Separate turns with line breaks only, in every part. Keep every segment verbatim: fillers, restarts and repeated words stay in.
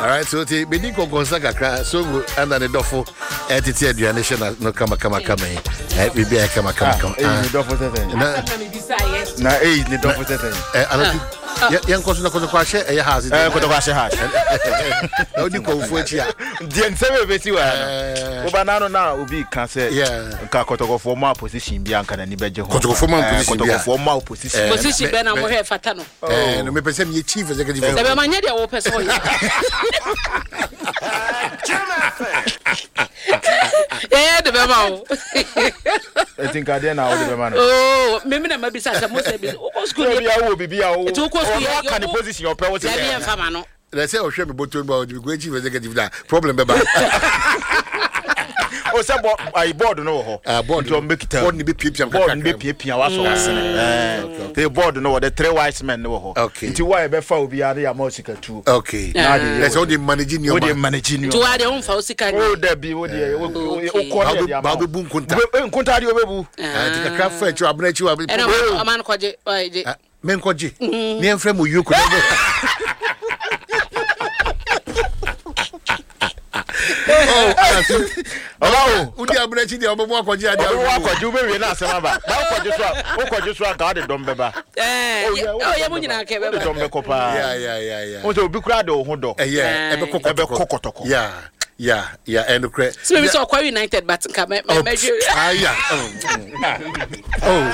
Alright, so ti bedi nkɔnkɔnsa kakra songo ɛna ne dɔfo ɛtete aduane hyɛ na no kama kama kama yi ɛ biribi ayɛ kama kama kama.
Eyi ne dɔfo sɛ sɛn.
Na
na eyi ne dɔfo sɛ sɛn.
Ɛ anatu yɛn kɔ so na kɔtɔkɔ ahyɛ ɛyɛ ha ase.
Ɛ kɔtɔkɔ ahyɛ ha.
Na odi kɔnfo akyi a.
Deɛ nsɛm ebesi wɔ ha no. Woba n'ano na obi ka sɛ. Nka kɔtɔkɔfoɔ ma position bi a nka n'ani bɛgye ho.
Kɔtɔkɔfoɔ ma position bi a.
Kɔtɔkɔfoɔ ma position.
Position bɛn na mo hwɛ fata no.
Ɛɛ no mepɛ sɛ meyɛ chief executive.
Sɛ bɛma nyɛ deɛ wopɛ sɛ ɔyɛ. Yɛyɛ de bɛma wo.
Eti nka deɛ na wode bɛma no.
Oo mimi na mabisa sɛ mo sɛ bi wokɔ sukuu
ni. Ebi awo bibi a wo.
Eti wokɔ sukuu
yɛ. Ɔno aka ne position ɔpɛ wo sɛ.
Dabi yɛn fa ma no.
Na sɛ ɔhwɛ me bɔtɔ mu a ɔde me kɔ chief executive na problem bɛba.
O sɛ bɔ ayi board no wɔ hɔ.
Ah board
nti ɔmo bɛ kita.
Board ni bɛ piapia
kakra. Board ni bɛ piapia wa sɔ wa sene. Ɛɛ te board no wɔ the three wise men no wɔ hɔ.
Okay.
Nti wa yɛ bɛ fa obi ade ama osika tuo.
Okay.
Na de
yɛ. Ɛsɛ o de manage nneɛma.
O de manage nneɛma.
Nti wa de o nfa o sika ni.
O dabi o de o kɔ ne yɛ de ama.
Ba o bɛ bu nkunta.
Nkunta de o bɛ bu.
Nti kakra fɛ akyi abena akyi wa.
Ɛna ɔman kɔgye ɔgye.
Menkɔgye. Ne yɛmfrɛ mo yoko. Wodi abena akyi deɛ ɔbɛbɔ akɔgye adeɛ.
Ɔbɛbɔ akɔgye wobɛwie na asɛm aba. Na wokɔgye so a wokɔgye so a nka wode dɔm bɛba.
Ɔyɛ mo nyinaa kɛ bɛba.
Wode dɔm bɛkɔ paa. Wo sɛ obi koraa de wo ho dɔ.
Ɛbɛkɔ
kɔtɔkɔ.
Yeah. Yeah, yeah, and the
So maybe so Akwa United, but nka me me me.
Ah yeah. Oh.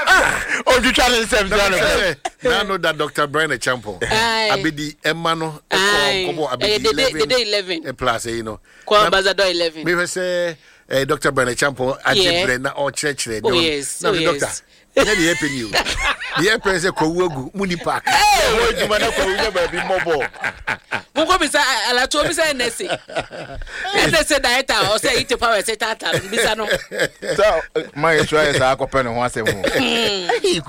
Ah. Oh, you try to say
something. Now know that Doctor Brian Acheampong. Abedi Emma no. Kobo Abedi eleven.
Dede eleven.
Plus, you know.
Ko Ambassador eleven.
Me say eh Doctor Brian Acheampong ajebre na o church.
Oh yes.
Na
oh,
doctor.
yes.
Nyɛ deɛ yɛpɛ ni o. Deɛ yɛpɛ sɛ kwawu agu mu ni park.
Ɛwɔ adwuma na kwawu nyɛ baabi mmɔbɔ.
Monkɔ bisa alatuo bisa N S A. N S A director ɔsɛ yi te power sɛ tata no bisa no.
Sɛ maa yɛ sura yɛ saa akɔpɛ ne ho asɛm o.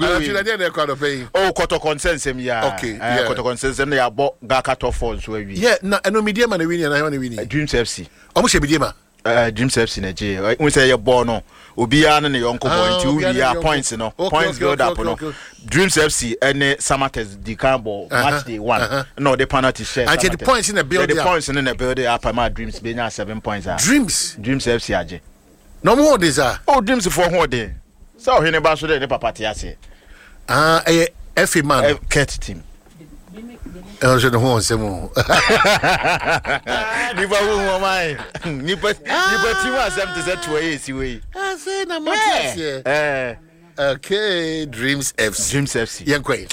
Alatuo na deɛ na ɛkɔ anɔpɛ yi.
O kɔtɔkɔ nsɛnsɛm yi a.
Okay. Yeah.
Kɔtɔkɔ nsɛnsɛm na yɛabɔ Gaka top four nso awie.
Yeah, na ɛno Medeama na wini anaa hɛn na wini?
Dreams F C.
Ɔmo hyɛ Medeama.
Uh, Dreams F C na gye n sɛ yɛ bɔɔl no obiara ne ne yɔnko bɔ nti wowie a points no points build up no, Dreams F C ɛne Samatex di kan bɔ match day one na ɔde penalty hyɛ.
Samatex the points na build
up, the points no na build up ama Dreams benya seven points a
Dreams
Dreams F C agye.
Na ɔmo ho ɔden saa?
Oh, Dreams foɔ ho ɔden sɛ ɔhene ba so de ne papa te aseɛ.
Ah, ɛyɛ F A man.
Kurt team.
Ɛno nso ne ho ɔnsɛm o.
Nipa ho ho ɔman nipa nipa ti mu asɛm te sɛ toa yɛ esi wei.
Afei na mo te aseɛ. Okay, Dreams F C.
Dreams F C.
Yɛn kɔ yi.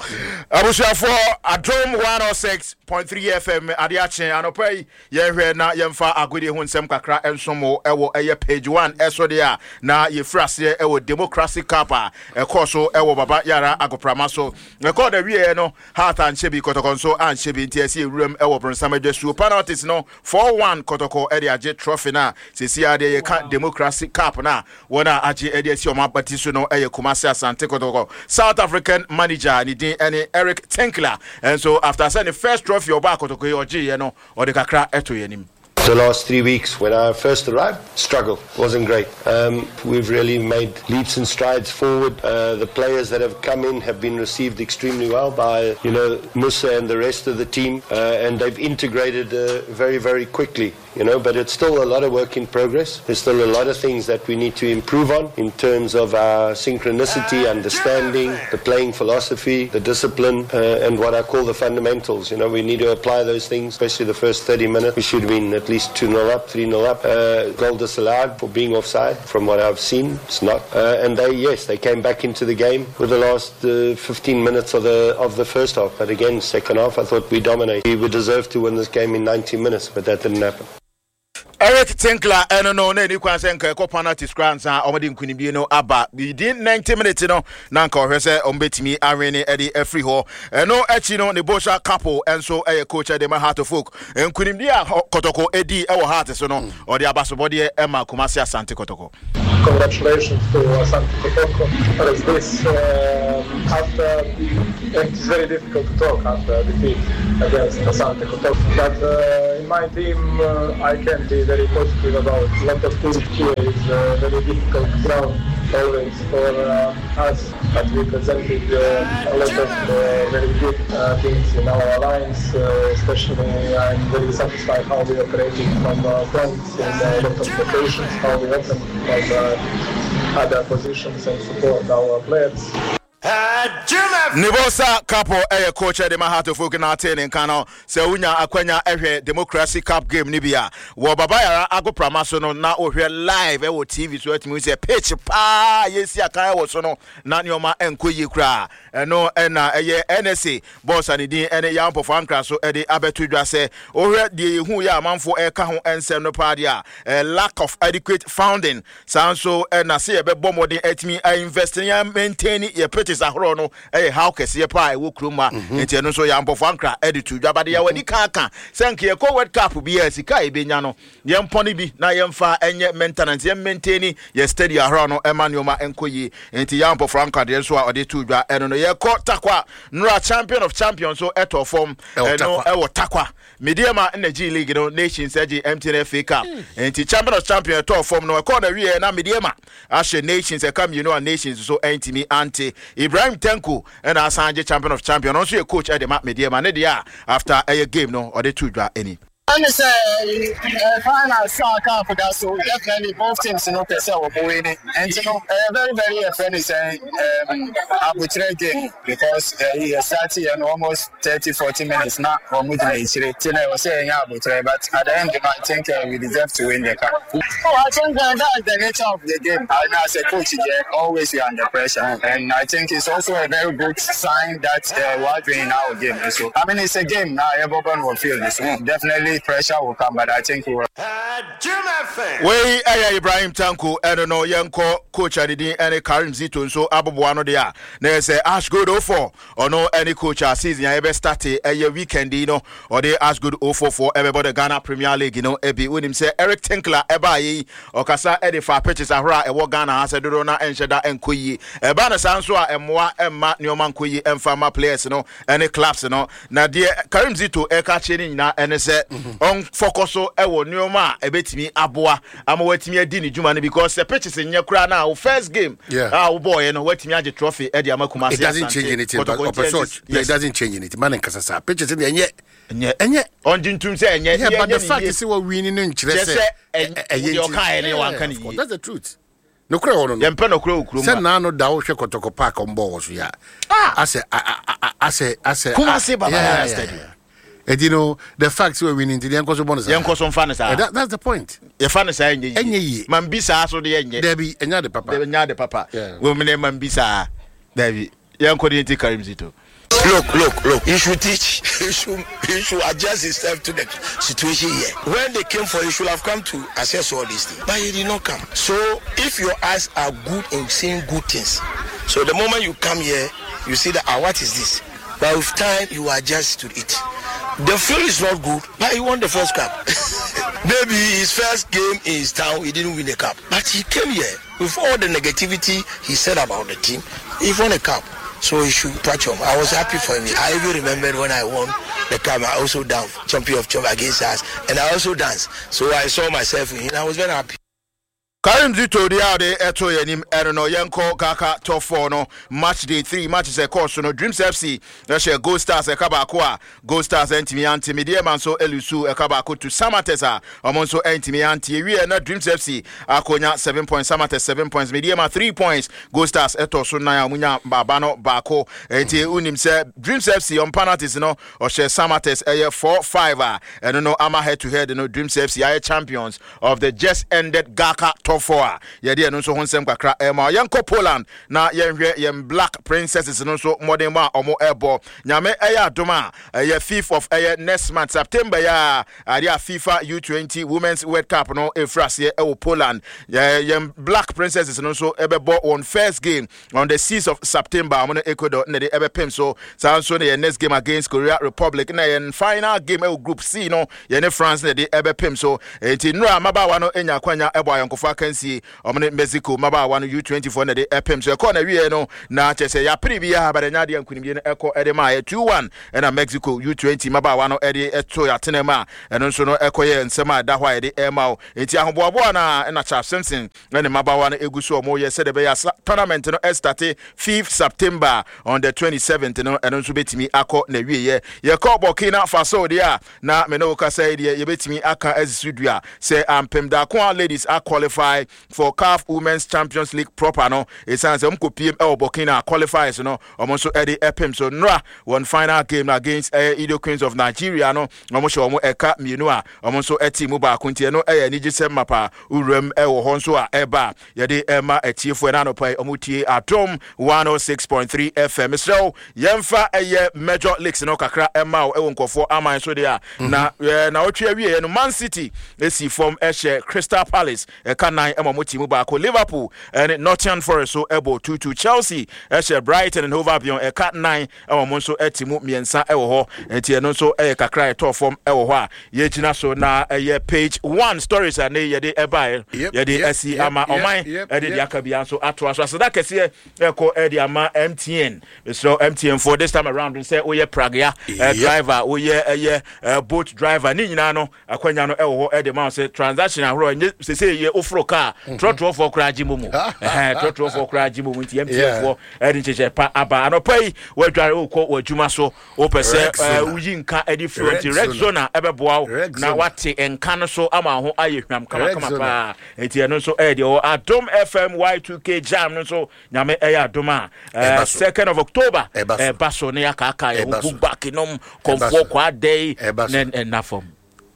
Abusuafoɔ, Adom one oh six point three F M, ade akye anɔpa yi yɛhwɛ na yɛmfa agodie ho nsɛm kakra nsom wo ɛwɔ ɛyɛ page one ɛso deɛ a na yɛfiri aseɛ ɛwɔ Democracy Cup a ɛkɔɔ so ɛwɔ Baba Yara agoprama so. Ɛkɔɔ da wieɛ no, Heart anhyɛ bi, Kɔtɔkɔ nso anhyɛ bi, nti ɛsɛ yɛwuram ɛwɔ bronsam adwasuo penalties no, four one, Kɔtɔkɔ ɛde agye trophy no a sɛsi a deɛ yɛka Democracy Cup no a wɔn a agye ɛde asi ɔmo abati so no ɛyɛ Kumase Asante Kɔtɔkɔ. South African manager ne din ɛne Eric Tinkler ɛnso after sɛ ne first trophy ɔbaa Kɔtɔkɔ yi ɔgyeeɛ no, ɔde kakra ɛto yɛn anim.
The last three weeks when I first arrived, struggle wasn't great. Um, we've really made leaps and strides forward. Uh, the players that have come in have been received extremely well by you know Musa and the rest of the team, uh, and they've integrated uh, very, very quickly. You know, but it's still a lot of work in progress. There's still a lot of things that we need to improve on in terms of our synchronicity, understanding, the playing philosophy, the discipline, uh, and what I call the fundamentals. You know, we need to apply those things, especially the first thirty minutes. We should have been at least two nil up, three nil up. Uh, goal disallowed for being offside. From what I've seen, it's not. Uh, and they, yes, they came back into the game with the last uh, fifteen minutes of the of the first half. But again, second half, I thought we dominated. We would deserve to win this game in ninety minutes, but that didn't happen.
Eric Tinkler ɛno no na ɛni kwan sɛ nka ɛkɔ penalties koraa nsa ɔmode nkonimdie no aba within ninety minutes no na nka ɔhwɛ sɛ ɔmbɛtumi awene ɛde afiri hɔ. Ɛno akyi no ne Bosha Couple ɛnso ɛyɛ coach ɛde ma Heart of Oak. Nkonimdie a Kɔtɔkɔ ɛdi ɛwɔ Heart so no, ɔde abasobɔdeɛ ɛma Kumase Asante Kɔtɔkɔ.
Congratulations to Asante Kotoko. As this, uh, after it is very difficult to talk after a defeat against Asante Kotoko. But uh, in my team, uh, I can be very positive about a lot of things here. Is a very difficult ground. always for uh, us, but we presented uh, a lot of uh, very good uh, things in our lines. Uh, especially, I'm very satisfied how we operated from uh, front in a lot of locations, how we opened from uh, other positions and support our players.
Nibosa Kapo ɛyɛ coach ɛde ma Hearts of Oak na ate ne nka no sɛ wonya akwanya ɛhwɛ Democracy Cup game ni bi a wɔ Baba Yara agoprama so no na wohwɛ live ɛwɔ T V so, atumi sɛ pitch paa yɛsi akan ɛwɔ so no na nneɛma ɛnkɔ yie koraa. Ɛno ɛna ɛyɛ N S A boss a ne din ɛne Yampɔfo Ankra so ɛde abɛto dwa sɛ wohwɛ deɛ yɛhu yɛ amanfoɔ ɛka ho ɛnsɛm no paa deɛ a, lack of adequate funding, saa nso ɛna sɛ yɛbɛbɔ mmɔden atumi invest ne yɛ maintain yɛ pitches ahorow no ɛyɛ haw kɛseɛ paa ɛwɔ kurom ha. Nti ɛno nso Yampɔfo Ankra ɛde to dwa bade yɛwɔ ani kan ka sɛ nka yɛkɔ World Cup bi a, sika a yɛbɛnya no yɛmpɔ no bi na yɛmfa ɛnyɛ maintenance, yɛn maintain yɛ stadium ahorow no ɛma nneɛma ɛnkɔ yie. Nti Yampɔfo Ankra deɛ nso a ɔde to dwa ɛno no. Yɛkɔ Takwa nora, Champion of Champions so ɛtɔ fam. Ɛno ɛwɔ Takwa, Medeama ɛna G League no, Nations ɛgye M T N F A Cup. Nti Champion of Champions ɛtɔ fam no, ɛkɔɔ na wie na Medeama ahyɛ Nations ɛka mmienu a Nations so ɛntumi ante. Ibrahim Tanko ɛna asan gye Champion of Champions. Ɔno nso yɛ coach ɛde ma Medeama ne deɛ a after ɛyɛ game no ɔde to dwa ɛni.
Ɛne sɛ final saa cup da so, definitely both teams no pɛ sɛ wɔn win, nti no ɛyɛ very very ɛfɛ ne sɛ abokyerɛ game because ɛyi yɛ start yɛ no almost thirty forty minutes na wɔn gyina akyire, ti na ɛwɔ sɛ yɛnyɛ abokyerɛ, but at the end, I think uh, we deserve to win the cup. Oh, I think uh, that's the nature of the game. I know as a coach, yeah, always you are under pressure, and I think it's also a very good sign that uh, we're doing in our game. So I mean, it's a game now. Everyone will feel this. Definitely pressure will come, but I think we will.
Wei ɛyɛ Ibrahim Tanko. Ɛno no yɛnkɔ coach a ne din ɛne Karim Zito nso aboboa no deɛ a na yɛ sɛ Ash Gold oh four. Ɔno ɛne coach a season a yɛbɛ start ɛyɛ weekend yi no, ɔde Ash Gold oh four four ɛbɛbɔ the Ghana Premier League no ebi. Wonim sɛ Eric Tinkler ɛbaa yi, ɔkasa ɛde fa pitches ahorow a ɛwɔ Ghana ha sɛ dodoɔ na ɛnhyɛ da ɛnkɔ yie. Ɛba no saa nso a, ɛmmoa ɛmma nneɛma nkɔ yie ɛmfa ma players no ɛne clubs no. Na deɛ Karim Zito ɛka kyerɛ ne nyinaa ɛne sɛ ɔnfɔkɔ so ɛwɔ nneɛma a ɛbɛtumi aboa ama watumi adi ne dwuma no, because sɛ pitches nyɛ koraa na wo first game
Yeah.
a wobɔɔyɛ no, watumi agye trophy ɛde ama Kumasi
It doesn't
Asante
change anything, but
Kotoko.
ɔpɛ sɛ
Nti
ɔky- it doesn't change anything. Man nkasa saa pitches deɛ ɛnyɛ
ɛnyɛ
ɛnyɛ.
Ɔngye ntum sɛ ɛnyɛ.
Yeah, but
yɛnyɛ
the
ne
fact
yie.
is sɛ wɔ win no nkyerɛ
Kyerɛ
sɛ
sɛ ɛn-
ɛ- ɛyɛ
deɛ
nti-
ɔkaeɛ no
Yeah,
wanka ne
of course,
yie.
that's the truth. Nokorɛ wɔ no no
Yɛmpɛ nɔkorɛ wɔ kurom
sɛ
ha.
naa no da wohwɛ Kɔtɔkɔ park ɔmbɔ wɔ so yi a, asɛ a- a- a- asɛ asɛ
Kumasi Baba
yeah,
Yara
yeah,
Stadium.
yeah. Ɛnti no the fact sɛ wɔ win nti yɛnkɔ so bɔ no saa.
Yɛnkɔ so mfa no saa.
Eh, that- that's the point.
Yɛfa no saa, ɛnyɛ yie.
Ɛnyɛ yie.
Mambi saa so de ɛnyɛ.
Dabi, ɛnyɛ ade papa.
Ɛnyɛ ade papa.
Yeah.
Wɔmene mambi saa, dabi, yɛnkɔ de yɛnti Karim Zito.
Look, look, look. He should teach. He should, he should adjust himself to the situation here. When they came for, he should have come to assess all these things. But he did not come. So if your eyes are good in seeing good things, so the moment you come here, you see that, ah, what is this? But with time, you adjust to it. The field is not good, but he won the first cup. Maybe his first game in his town, he didn't win the cup. But he came here with all the negativity he said about the team. He won a cup. So he should patch on. I was happy for him. I even remembered when I won the cup, I also danced, champion of champion against us, and I also danced. So I saw myself in him. I was very happy.
Karim Zito deɛ a ɔde ɛto yɛn anim ɛno no. Yɛnkɔ GHALCA Top Four no, match day three matches ɛkɔɔ so no, Dreams F C ɛhyɛ Gold Stars ɛka baako a Gold Stars ɛntumi ante. Medeama nso ɛ lose ɛka baako to Samartex a ɔmo nso ɛntumi ante. Ewie na Dreams F C akonya seven points, Samartex seven points, Medeama three points, Gold Stars ɛtɔ so nan a ɔmo nya baaba no baako. Eti unim sɛ Dreams F C on penalties no ɔhyɛ Samartex ɛyɛ four five a ɛno no ama head to head no Dreams F C ayɛ champions of the just ended GHALCA Top Four a yɛde ɛno nso ho nsɛm kakra ɛma. Yɛnkɔ Poland na yɛnhwɛ yɛn Black Princesses no nso mmɔden mu a ɔmo ɛbɔ. Nyame ɛyɛ adom a, ɛyɛ fifth of ɛyɛ next month September yɛ a adeɛ a FIFA U twenty Women's World Cup no ɛfiri aseɛ ɛwɔ Poland. Yɛ yɛn Black Princesses no nso ɛbɛbɔ wɔn first game on the sixth of September. Ɔmo no Ecuador na de ɛbɛpem so. Saa nso na yɛn next game against Korea Republic, na yɛn final game ɛwɔ Group C no, yɛne France na de ɛbɛpem so. Enti nnura mmabaawa no anya akwanya ɛbɔ ayɔnkofa. akansie ɔmo ne Mexico mmabaawa no U twenty-four na de ɛpem so ɛkɔɔ na wie no na kyerɛ sɛ yɛapere biara bɛdɛ nya adeɛ nkonimdie no ɛkɔ ɛde maa yɛ two one, ɛna Mexico U twenty mmabaawa no ɛde ɛto yɛatena mu a ɛno nso no ɛkɔyɛ nsɛm a ɛda hɔ a yɛde ɛma wo. Enti ahoboaboa no a ɛna Charles Simpson ɛne mmabaawa no ɛgu so ɔmo yɛ sɛdeɛ ɛbɛyɛ a tournament no ɛstart fifth September, on the twenty-seventh no ɛno nso bɛtumi akɔ na wieɛ. Yɛkɔ Burkina Faso deɛ a na me ne wo kasa yi deɛ, yɛbɛtumi aka asi so dua sɛ Ampem Darkoa Ladies a qualify for CAF Women's Champions League proper no, ɛsiane sɛ ɔmkɔpiem ɛwɔ Burkina qualifiers no, ɔmo nso ɛde ɛpem so nnora wɔn final game no against ɛyɛ Edo Queens of Nigeria no, ɔmo hyɛ ɔmo ɛka mmienu a ɔmo nso ɛte mu baako. Nti ɛno ɛyɛ anigye sɛm mapa wuram ɛwɔ hɔ nso a ɛba a yɛde ɛma atiefoɔ ɛna anɔpa yi ɔmo tie Adom one oh six point three F M. Mesrɛ wo, yɛmfa ɛyɛ major leagues no kakra ɛma wo ɛwɔ nkɔfoɔ aman so deɛ a na ɛɛ na ɔtwe awieɛ no, Man City esi fam ɛhyɛ Crystal Palace ɛka nan ɛma ɔmo ti mu baako. Liverpool ɛne Nottingham Forest so ɛbɔ two two. Chelsea ɛhyɛ Brighton and Hove Albion ɛka nan ɛma ɔmo nso ɛte mu mmiɛnsa ɛwɔ hɔ. Nti ɛno nso ɛyɛ kakra ɛtɔɔ fam ɛwɔ hɔ a yɛgyina so na ɛyɛ page one stories a ne yɛde ɛbaeɛ yɛde ɛsi ama ɔman ɛde deɛ aka bia nso atoa so. Aseda kɛseɛ ɛkɔ ɛde ama M T N. Mesrɛ M T N for this time around sɛ woyɛ pragea driver, woyɛ ɛyɛ boat driver ne nyinaa no, akwanya no ɛwɔ hɔ ɛde ma wo sɛ transaction ahorow ɛnyɛ sese yɛ oforo kaa trɔtrɔfoɔ koraa gye mu mu trɔtrɔfoɔ koraa gye mu mu. Nti M T N foɔ ɛde nhyehyɛ pa aba. Anɔpa yi wɔadware wokɔ w'adwuma so, wopɛ sɛ woyi nka ɛde firi, nti Rexona ɛbɛboa wo na wate nka no so ama ho ayɛ hwam kamakama paa. Nti ɛno nso ɛyɛ deɛ wɔ Adom F M Y two K Jam no nso. Nyame ɛyɛ adom a, second of October ɛba so ne yɛakaaka yɛ ho book back nom kɔmfoɔ kɔ adɛi ne ɛna fam.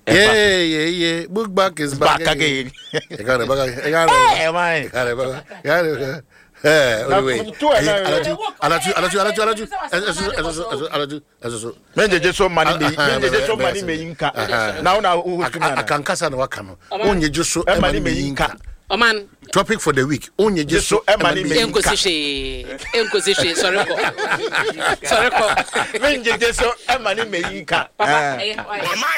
Yeah, yeah, yeah. Book back is back, back again. You got it, back. You got it.
Hey, man.
You got it, back. You got it. Hey, wait, wait. Alaju, Alaju, Alaju, Alaju, Alaju. Ẹsọ, ẹsọ, ẹsọ, Alaju, ẹsọ so.
Mengyegye so ma ne meyi, mengyegye so ma ne meyi nka. Na wo na wo host mi ana?
Akankasa na waka no. Onyegye so
ɛma ne meyi nka.
Ɔman.
Topic for the week. Onyegye so
ɛma ne meyi nka.
Enkosi hwee. Enkosi hwee. Sɔre kɔ. Sɔre kɔ.
Mengyegye so ɛma ne meyi nka.
Papa, ɛyɛ.